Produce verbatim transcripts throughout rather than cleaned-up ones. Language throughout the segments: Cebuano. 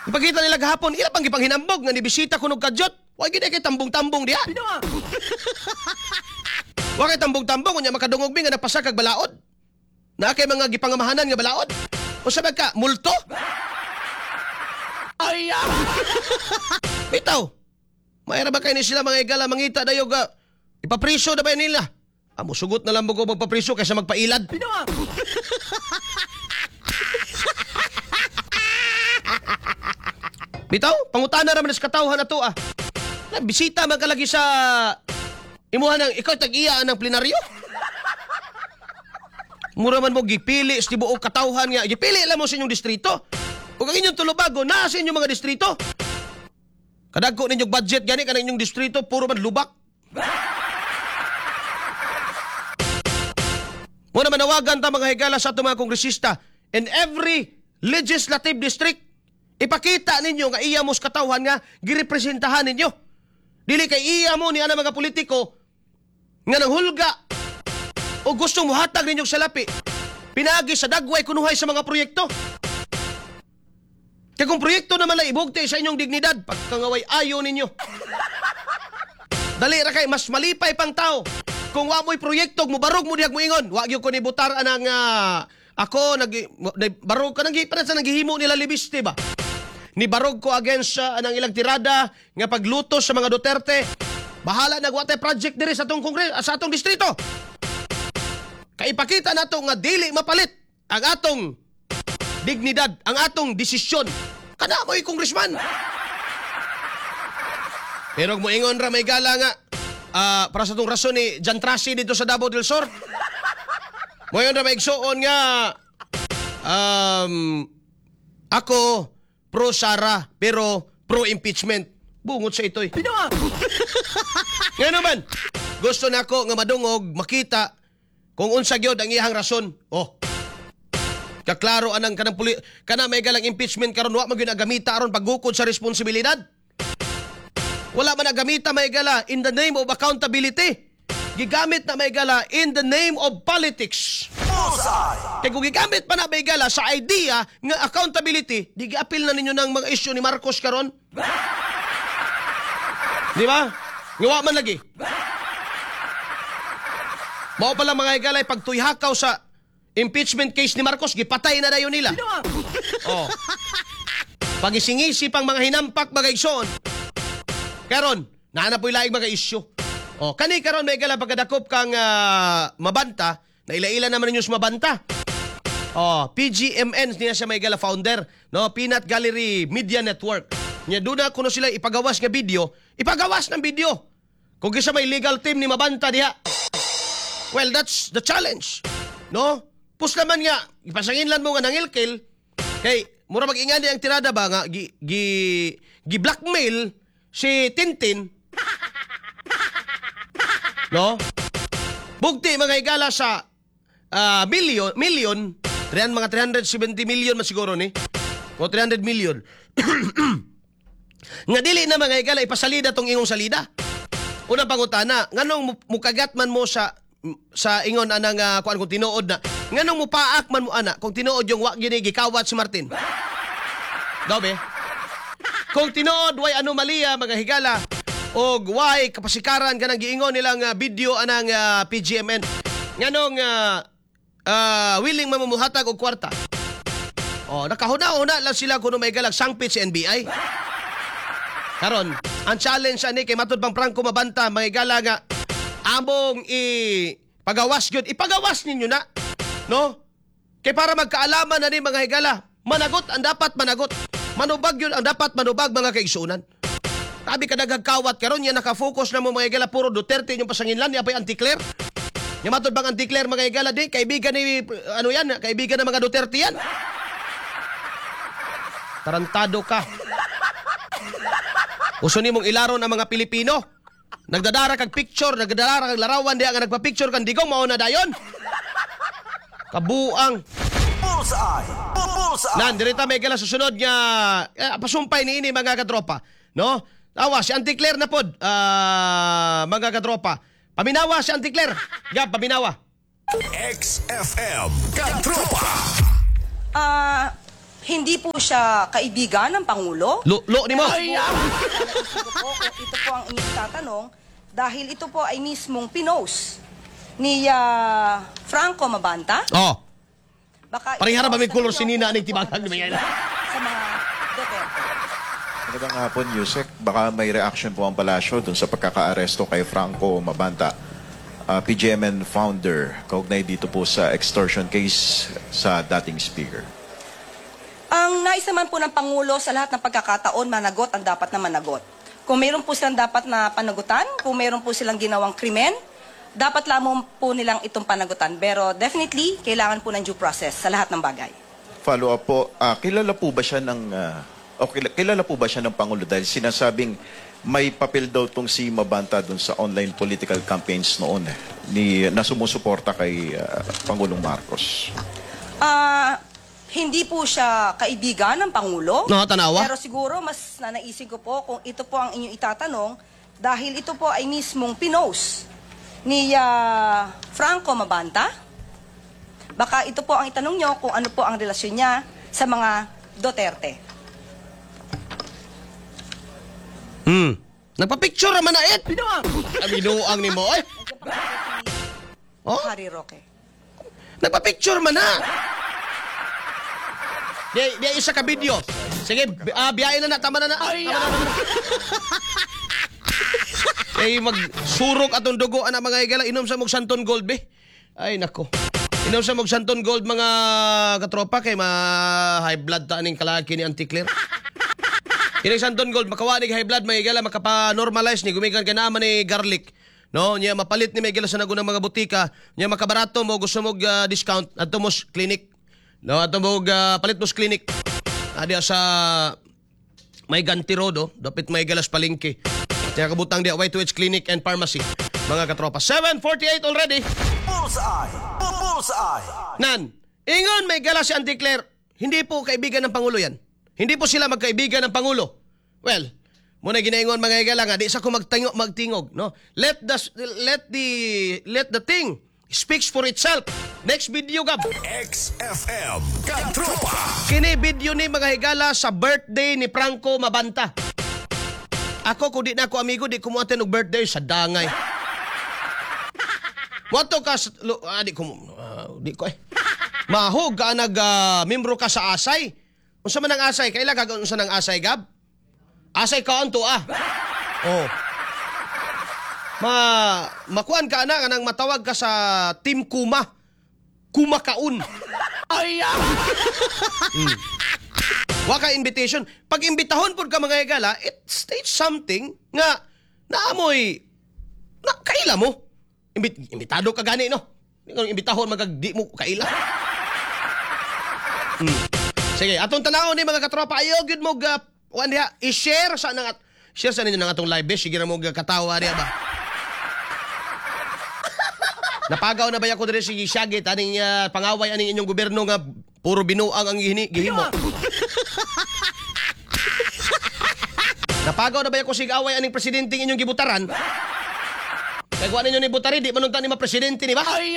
Ipakita nila gahapon, ila pang gipanghinambog nga nibisita kuno kadyot. Wa gid kay tambong-tambong diha. Wa kay tambong-tambong unya makadungog mi nga napasa kag balaod. Na kay mga gipangamahanan nga balaod. Usa ba ka multo? Ay! Bitaw. Mayra ba kay ni sila mga igala mangita dayo ga ipapriso na ba nila? Amo sugot na lang mo ko magpapriso kaysa magpailad. Bitaw, pangutana ra man sa katawhan na to ah. Na, bisita man ka lagi sa imuha ng ikaw tag-iya ng plenaryo. Mura man mo gipili sa tibuok katawhan nga gipili lang mo sa inyong distrito. Ug ang inyong tulubago naa sa inyong mga distrito. Kadagko ninyong budget gani kanang inyong distrito puro man lubak. Muna manawagan ta mga higala sa atong mga kongresista in every legislative district. Ipakita ninyo nga iya mo sa katawhan nga girepresentahan ninyo. Dili kay iya mo ni ana mga politiko nga nanghulga o gustong muhatag ninyong salapi. Pinagi sa dagway kunuhay sa mga proyekto. Kaya kung proyekto naman lang ibugti sa inyong dignidad, pagkangaway ayo ninyo. Dali ra kay mas malipay pang tao. Kung wa mo'y proyekto, mubarog mo dihag moingon. Wa gyud ko ni butar anang uh, ako nag barog ka nang pa sa naghihimo nila libiste ba. Ni barog ko against uh, anang ilang tirada nga paglutos sa mga Duterte. Bahala nagwatay project diri sa atong kongres sa atong distrito. Kay ipakita nato nga dili mapalit ang atong dignidad, ang atong desisyon. Kada mo'y congressman. Pero moingon ra may gala nga uh, para sa itong rason ni Jan Trasi dito sa Davao del Sur. Moingon ra may igsuon nga um, ako pro Sara pero pro impeachment. Bungot sa ito'y. Ngayon naman, gusto na ako nga madungog makita kung unsa gyud ang iyang rason. Oh. Kaklaro anang kanang puli kana may galang impeachment karon wa man gyud nagamita aron paggukod sa responsibilidad. Wala man nagamita may gala in the name of accountability. Gigamit na may gala in the name of politics. Kaya kung gigamit pa na may gala sa idea nga accountability, di giapil na ninyo ng mga issue ni Marcos karon. Di ba? Nga wa man lagi. Mao pala mga higalay pagtuyhakaw sa impeachment case ni Marcos, gipatay na dayon nila. Oh. Pagisingisi pang mga hinampak mga igsoon. Karon, naa na po'y laing mga issue. Oh, kani karon may gala pagkadakop kang uh, Mabanta, na ila-ila naman ninyo sa Mabanta. Oh, P G M N niya siya may gala founder, no? Peanut Gallery Media Network. Nya doon na kuno sila ipagawas nga video, ipagawas ng video. Kung kisa may legal team ni Mabanta diha. Well, that's the challenge. No? Pus naman nga, ipasangin lang mo nga nangilkil, kay mura mag-ingani ang tirada ba nga gi, gi, gi blackmail si Tintin. No? Bugti mga higala sa uh, million, million, mga three hundred seventy million man siguro ni. O three hundred million. Nga dili na mga higala ipasalida tong ingong salida. Unang pangutana, nganong mukagat man mo sa sa ingon anang uh, kuan kung tinuod na nganong mupaak man mo ana kung tinuod yung wa gini gikawat si Martin. Dobe. Kung tinuod way anomalya mga higala og way kapasikaran kanang giingon nilang uh, video anang uh, P G M N nganong uh, uh, willing man mohatag og kwarta. Oh, nakahuna-huna lang sila kuno may galag sangpit si N B I. Karon, ang challenge ani kay matud pang Franco Mabanta mga higala nga among ipagawas gyud, ipagawas ninyo na, no? Kay para magkaalaman na ni mga higala, managot ang dapat managot, manubag yun ang dapat manubag mga kaigsunan. Tabi ka nagagkawat karon yan nakafocus na mo mga higala puro Duterte yung pasanginlan niya pa'y anti-Claire. Nya matod bang anti-Claire mga higala di kaibigan ni ano yan, kaibigan ng mga Duterte yan. Tarantado ka. Uso nimong ilaron ang mga Pilipino. Nagdadara kag picture, nagdadara kag larawan diha nga nagpa-picture kang digong mao na dayon. Kabuang. Bullseye. Bullseye. Nan direta may gala susunod nga eh, pasumpay niini mga katropa, no? Tawa si Auntie Claire na pod, uh, mga katropa. Paminawa si Auntie Claire. Gab, paminawa. X F M Katropa. Ah, uh, Hindi po siya kaibigan ng Pangulo. Lo, lo ni mo. Naisip ko po kung ito po ang inyong tatanong dahil ito po ay mismong pinost ni ah, Franco Mabanta. Oh. Baka ito Parehara po ba may ang color tanong si Nina niyo aning kung ano po tibakan ang ni Mayela? relasyon sa mga Duterte. Magandang hapon, Usec. Baka may reaction po ang palasyo dun sa pagkakaaresto kay Franco Mabanta, ah, P G M N founder, kaugnay dito po sa extortion case sa dating speaker. Ang nais naman po ng Pangulo, sa lahat ng pagkakataon, managot ang dapat na managot. Kung meron po silang dapat na panagutan, kung meron po silang ginawang krimen, dapat lamang po nilang itong panagutan. Pero definitely, kailangan po ng due process sa lahat ng bagay. Follow up po, ah, kilala po ba siya ng ah, o kilala, kilala po ba siya ng Pangulo dahil sinasabing may papel daw tong si Mabanta dun sa online political campaigns noon eh, ni na sumusuporta kay ah, Pangulong Marcos? Ah, hindi po siya kaibigan ng Pangulo. No, tanawa. Pero siguro mas nanaisip ko po kung ito po ang inyong itatanong dahil ito po ay mismong pinost ni ah, Franco Mabanta. Baka ito po ang itanong nyo kung ano po ang relasyon niya sa mga Duterte. Hmm. Nagpa-picture naman na it. Binuang. Binuang ni mo. Ay. Oh? Harry Roque. Nagpa-picture man na. Di, di isa ka video. Sige, bi- ah, biyahe na na. Tama na na. Ay, tama na, tama na. Ay, magsurok atong dugo ana, mga higala. Inom sa mog Santon Gold be. Ay nako. Inom sa mog Santon Gold, mga katropa, kay ma high blood ta aning kalaki ni Auntie Claire. Kining Santon Gold makawa ni high blood, mga higala, makapa-normalize ni gumikan ka naman ni garlic. No, nya mapalit ni may sa nagunang mga butika, nya makabarato mo, gusto mo ah, discount adto mo sa clinic. No, adto mo ah, palit mo sa clinic. Adi sa may Ganti Road, oh, dapit may galas palengke. Kaya kabutang di Y two H Clinic and Pharmacy. Mga katropa, seven forty-eight already. Bullseye! Bullseye! Nan, ingon may gala si Auntie Claire, hindi po kaibigan ng Pangulo yan. Hindi po sila magkaibigan ng Pangulo. Well, muna ginaingon, mga higala, nga di sa ko magtingog, magtingog, no? Let the let the let the thing speaks for itself. Next video, Gab. X F M Katropa. Kini video ni, mga higala, sa birthday ni Franco Mabanta. Ako, kung di na ako amigo, di ko mo og birthday sa dangay. Wato ka sa, lo, ah, di ko ah, di ko eh. Mahog ka nag ah, membro ka sa Asay. Unsa man ang Asay? Kaila ka unsa nang Asay, Gab? Asay ka to ah. Oh. Ma makuan ka na kanang matawag ka sa Team Kuma. Kumakaun. Ay! mm. Wa ka invitation. Pag imbitahon pud ka, mga higala, it states something nga naamoy na kaila mo. Imbit, imbitado ka gani, no? Di ka imbitahon magag di mo kaila. Mm. Sige, atong tanawon ni, mga katropa, ayo gyud mo ga kuan diha, i-share sa nang share sa ninyo ng atong live be, sige ra mo ga katawa diha ba. Napagaw na ba ko diri si Shagit aning uh, pangaway aning inyong gobyerno nga puro binuang ang gihini, gihimo. Napagaw na ba ko sig away aning presidente inyong gibutaran? Kay kuha ninyo ni butari, di man unta ni ma-presidente ni ba? Ay!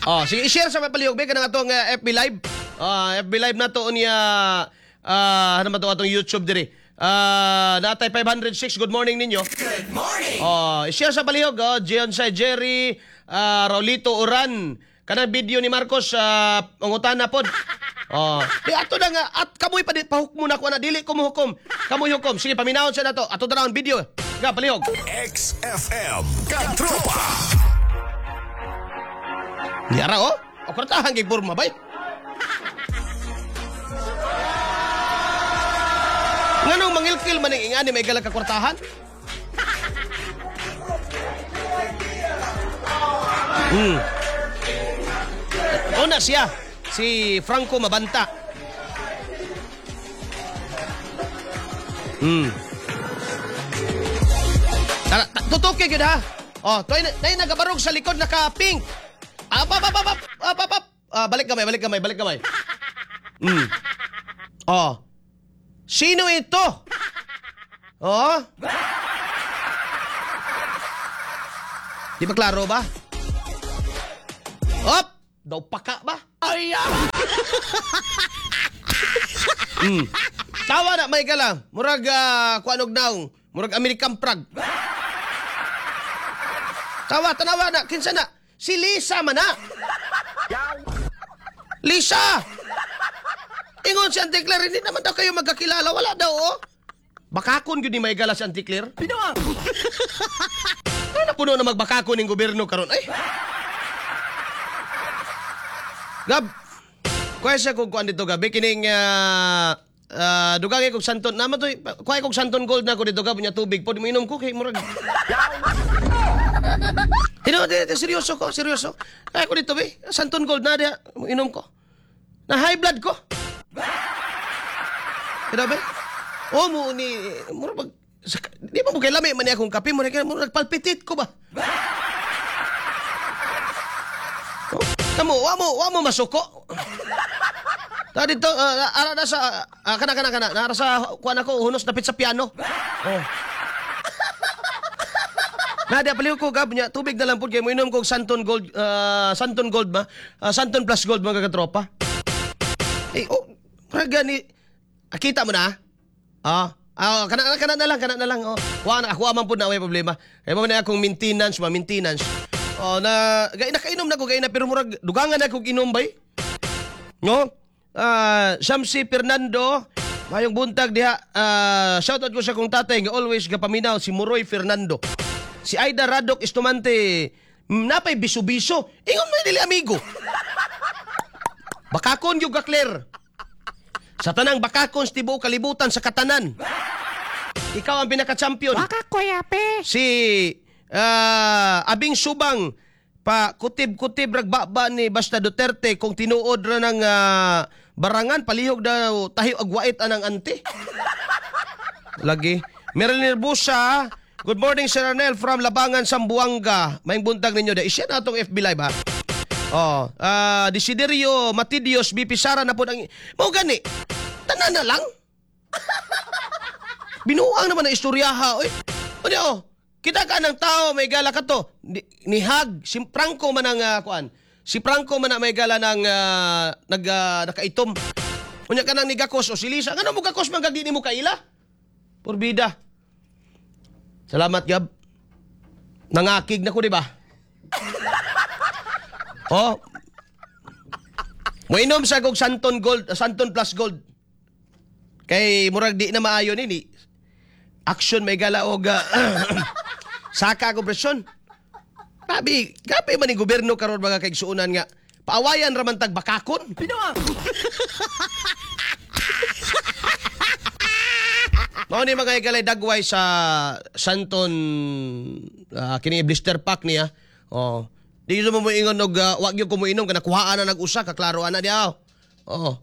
Oh, sige, i-share sa palihog be kanang atong uh, F B Live. Ah, F B Live na to niya, ah, ano man to atong YouTube diri. Ah, natay five hundred six, good morning ninyo. Good morning. Oh, i-share sa palihog, oh, Gion sa Jerry, ah, Raulito Oran. Kanang video ni Marcos uh, pangutana pod. Oh, di ato na nga at kamoy pa di pahuk mo na ko na dili ko mohukom. Kamoy hukom. Sige, paminawon sa nato. Ato na ang video. Ga palihog. X F M Katropa. Yara oh. O kwartahan kay porma bay. Nganong mangilkil man ang ingani may galag ka kwartahan? Hmm. Una siya, si Franco Mabanta. Hmm. Tara, ta- tutuki gyud ha. Oh, toy nay nagabarog sa likod naka pink. Up, up, up, up, up, up, up, up. Ah, balik kamay, balik kamay, balik kamay. Hmm. Oh. Sino ito? Oh? Di ba klaro ba? Op! Daw paka ba? Mm. Tawa na may gala. Murag uh, kuan og naong, murag American Prag. Tawa, tanawa na, kinsa na? Si Lisa man na. Lisa! Ingon si Auntie Claire, hindi naman daw kayo magkakilala. Wala daw, oh. Bakakon gyud ni may gala si Auntie Claire. Pinoa! Ano puno na magbakakon ng gobyerno karon? Ay! Gab, kuha siya kung kuan dito gabi kining uh, uh, dugangay kog Santon naman to, kuha kog Santon Gold na ko dito gab, nya tubig pod mo inom ko kay murag. Tino, seryoso ko, seryoso. Kaya ko dito be, Santon Gold na diha, inom ko. Na high blood ko. Kaya be? Oh, mo ni murag mag, di ba mo kay lami man ni akong kape, murag murag palpitate ko ba? Oh, kamo, wa mo, wa mo masuko. Ta dito, uh, ara na sa uh, kana kana kana, nara sa kuan ako hunos dapit sa piano. Oh. Nadia paliw ko gab niya tubig na lang pud kay mo inom kog Santon Gold, uh, Santon Gold ba? Uh, Santon Plus Gold mga katropa. Eh oh, murag gani ah, kita mo na. Ah, ah kana kana na lang, kana na lang. Oh. Wa na ako man pud na may problema. Kay mo na akong maintenance, ma maintenance. Oh, na gay nakainom na ko gay na pero murag dugangan na kog inom bay. No? Ah, Shamsi Fernando, mayong buntag diha. Uh, shoutout ko sa kong tatay nga always gapaminaw si Muroy Fernando. Si Aida Radok Estumante, napay biso-biso. Ingon mo dili amigo. Bakakon yung ka Claire. Sa tanang bakakon sa tibuok kalibutan sa katanan. Ikaw ang pinaka-champion. Si uh, Abing Subang pa kutib-kutib ragbaba ni Basta Duterte kung tinuod ra ng uh, barangan palihog daw tahi og wait anang ante. Lagi. Marilyn Nervosa, good morning Sir Arnel from Labangan, Zamboanga. Maayong buntag ninyo da. Isya na atong F B Live ha. Oh, uh, Desiderio Matidios B P Sara na po ang mao gani. Tanan na lang. Binuang naman ang istoryaha oy. Unya oh. Kita ka ng tao may gala ka to. Ni, ni Hag, si Franco man ang uh, kuan. Si Franco man ang may gala ng uh, nag uh, nakaitom. Unya ka nang nigakos o si Lisa. Ngano mo gakos man gag di nimo kaila? Porbida. Salamat Gab. Nangakig na ko di ba? Oh. Moinom sa kog Santon Gold, Santon Plus Gold. Kay murag di na maayo nini. Action may gala og uh, saka ko presyon. Grabe, grabe man ni gobyerno karon mga kaigsuonan nga. Paawayan ra man tag bakakon. Pinoa. Mao ni mga igalay dagway sa Santon uh, kini blister pack niya. Oh. Di mo moingon og uh, wa gyud ko moinom kana kuhaan na nag-usa kaklaro ana diha. Oh.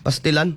Pastilan.